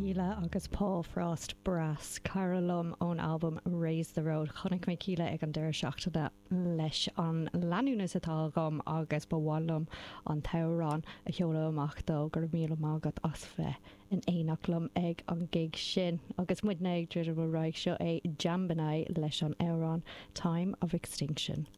Kíla agus Paul Frost, Brass, cara liom ón albam Raise the Road. Chonaic mé Kíla ag an deireadh seachtaine leis an leanúnas atá agam agus ba mhaith liom an t-amhrán a sheoladh amach dó. Go raibh míle maith agat as bheith in éineacht liom ag an gig sin. Agus muidne ag druidim ar aghaidh, seo é Jambanai leis an amhrán Time of Extinction.